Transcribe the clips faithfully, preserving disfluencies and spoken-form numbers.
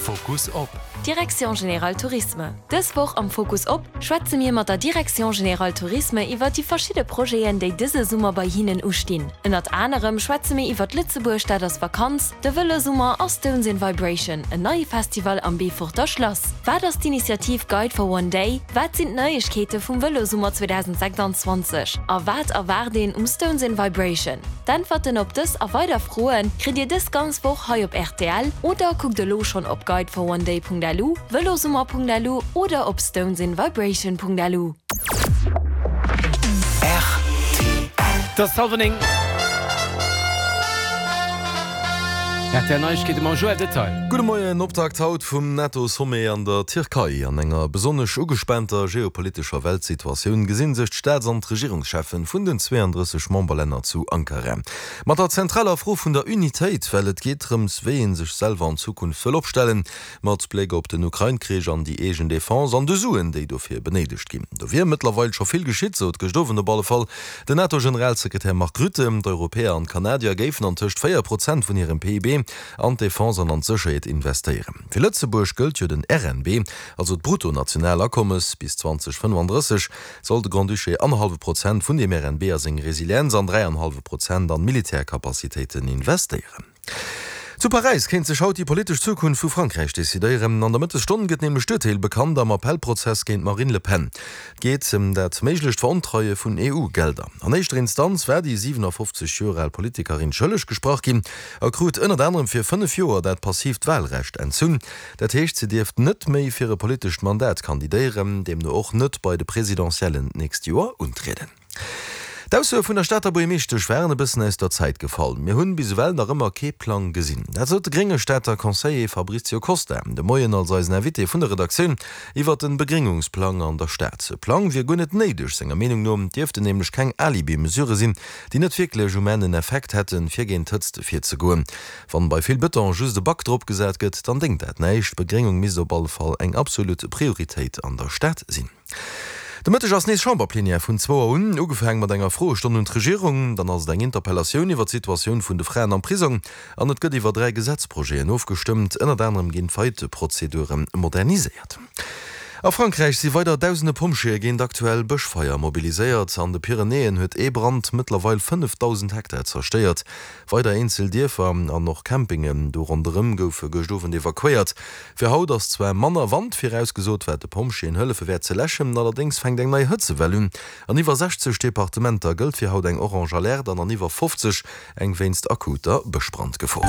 Fokus op. Direction Générale Tourisme Dës Woch am Fokus op schwätze mir mat der Direction Générale Tourisme iwwer déi verschidde Projeten, déi dëse Summer bei hinnen ustinn. Ënnert anerem schwätze mir iwwer Lëtzebuerg, dat ass Vakanz, de Vëlosummer a Stones in Vibration, en neie Festival am Beeforter Schlass. Wat ass d'Initiativ Guide for One Day? Wat sinn d'Neiegkeete vum Vëlosummer zweedausend sechsanzwanzeg? A wat erwaart een um Stones in Vibration? D'Äntwerten op dës a weider Froe kritt Dir dës ganz Woch hei op R T L oder kuckt elo schonn op guideforonday Punkt L U, velosummer Punkt L U oder op stonesinvibration Punkt L U. Et ass hallwer néng. R T L Neiegkeete mam Joël Detail. Gudde Moien. Optakt haut vum NATO-Sommet an der Tierkei. An enger besonnesch ugespaanter geopolitescher Weltsituatioun gesinn sech d'Staats an d'Regierungscheffen vun den zweeandrësseg Memberlänner zu Ankara. Mat der zentraler Fro vun der Unitéit, well et geet drëms, wéi ee sech selwer an Zukunft wëll opstellen, mat Bléck op den Ukrain-Krich an déi eegen Defense an de Suen, déi dofir benéidegt ginn. Do wier mëttlerweil scho vill geschitt, sot gëscht Owend op alle Fall den NATO-Generalsekretär Mark Rutte. D'Europäer an d'Kanadier géifen antëscht véier Prozent vun hirem P I B an d'Defense an an d'Sécherheet investéieren. Fir Lëtzebuerg gëllt jo den R N B, also d'Bruttonationalakommes. Bis zweedausendfënnefandrësseg soll de Grand-Duché annerhallwe Prozent vun dem R N B a seng Resilienz an dräianhallwe Prozent an Militärkapazitéiten investéieren. Zu Paräis kéint sech haut déi politesch Zukunft vu Frankräich decidéieren. An der Mëttesstonn gëtt nämlech d'Urteel bekannt am Appellprozess géint d'Marine Le Pen. Et geet ëm dat méiglecht Verontreie vun E U-Gelder. An éischter Instanz war déi siwenafoffzeg Joer al Politikerin schëlleg gesprach ginn a krut ënnert anerem fir fënnef Joer dat passiivt Walrecht entzunn. Dat heescht, si dierft net méi fir e politescht Mandat kandidéieren, deemno och net bei de Presidentiellen d'nächst Joer untrieden. D'Aussoe vun der Stater Buergermeeschtesch waren e bëssen aus der Zäit gefall. Mir hunn bis ewell nach ëmmer kee Plang gesinn. Dat sot de grénge Stater Conseiller Fabrizio Costa de Moien als eisen Invité vun der Redaktioun iwwer den Begréngungsplang an der Stad. E Plang wier guer net néideg, senger Meenung no dierften nämlech keng Alibi-Mesurë sinn, déi net wierklech um Enn en Effekt hätten, fir géint d'Hëtzt virzegoen. Wann bei vill Bëton just e Bac drop gesat gëtt, dann déngt dat näischt. Begréngung misst op alle Fall eng absolut Prioritéit an der Stad sinn. De Mëtteg ass nees Chamberplenière vun zwou Auer un, ugefaange mat enger Froestonn un d'Regierung. Dann ass et eng Interpellatioun iwwer d'Situatioun vun de Fraen am Prisong an et gëtt iwwer dräi Gesetzprojeten ofgestëmmt. Ënnert anerem ginn d'Faillite-Prozedure moderniséiert. A Frankräich si weider dausende Pompjeeë géint aktuell Bëschfeier mobiliséiert. An de Pyrenäen huet ee Brand mëttlerweil fënnefdausend Hektar zerstéiert. Weider eenzel Dierfer an och Campingen do ronderëm goufe gëscht Owend evakuéiert. Fir haut ass zwar manner Wand virausgesot, wat de Pompjeeën hëllefe wäert ze läschen, allerdéngs fänkt eng nei Hëtzewell un. An iwwer sechzeg Departementer gëllt fir haut eng orange Alerte an an iwwer fofzeg eng wéinst akuter Bëschbrandgefor.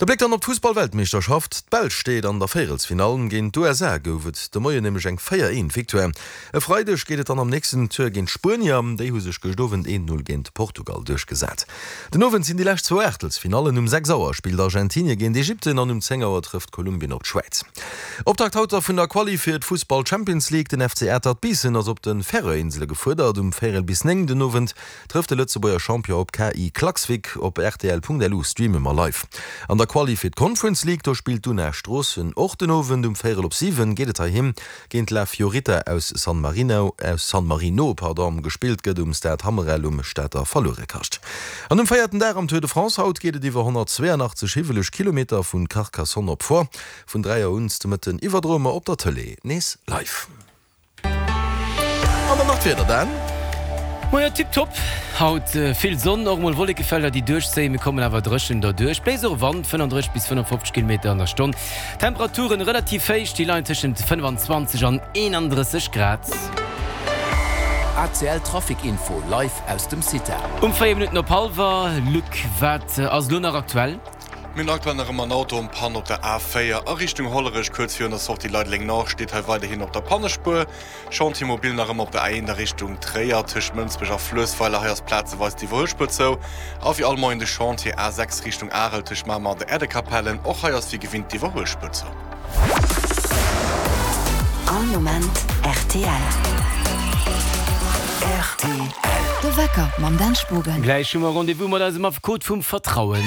De Bléck dann op d'Fussball-Weltmeeschterschaft. D'Belsch steet an der Véierelsfinall. Géint d'U S A gouf et de Moien nämlech eng véier eent Victoire. E Freideg geet et dann am nächsten Tour géint d'Spuenier. Déi hu sech gëscht Owend eent null géint Portugal duerchgesat. Den Owend sinn déi lescht zwou Aachtelsfinallen. Um sechs Auer spillt Argentinie géint Ägypten an um zéng Auer trëfft Kolumbien op d'Schwäiz. Optakt haut da vun der Quali fir d'Fussball Champions League. Den F C Atert Biissen ass op de Färöerinsele gefuerdert. Um véierel bis néng den Owend trëfft de Lëtzebuerger Champion op K I Klaksvik. Op R T L Punkt L U streame mer live. An der Quali fir d'Conference League, do spillt d'Una Stroossen och den Owend. Um véierel op siwen geet et heiheem géint La Fiorita aus San Marino, aus San Marino, pardon, gespillt gëtt um Stade Hammerel um Stater Verluerekascht. An um véierten Dag am Tour de France haut geet et iwwer honnertzweeanachtzeg hiwweleg Kilometer vun Carcassonne op Foix. Vun dräi Auer un de Mëtten iwwerdroe mer op der Tëlee nees live. An dann nach d'Wieder, Dan. Moien, tipptopp. Haut vill Sonn, och mol Wollekefelder, déi duerchzéien. Mir kommen awer dréchen derduerch. Bléist och Wand, fënnefandrësseg bis fënnefofzeg Kilometer an der Stonn. Temperaturen relativ héich, déi leien tëschent fënnefanzwanzeg an eenandrësseg Grad. A C L Trafic Info live aus dem CITA. Um véier Minutten op hallwer, Luc, wat ass elo nach aktuell? Mir hunn aktuell nach ëmmer en Auto en panne op der A véier a Richtung Hollerech, kuerz virun der Sortie Leideleng Nord, steet hei weiderhin op der Pannespuer. Chantier mobile nach ëmmer op der A eent a Richtung Tréier tëscht Mënsbech a Fluessweiler, hei ass plazeweis d'iwwerhuelspuer zou. A wéi all Moien de Chantier A sechs Richtung Arel tëscht Mamer an der Erdekapellen, och hei ass wéi gewinnt d'iwwerhuelspuer zou. All Moment R T L. R T L. De Wecker mam Dan Spogen. Gläich hu mer Rendez-vous mat eisem Affekot vum Vertrauen.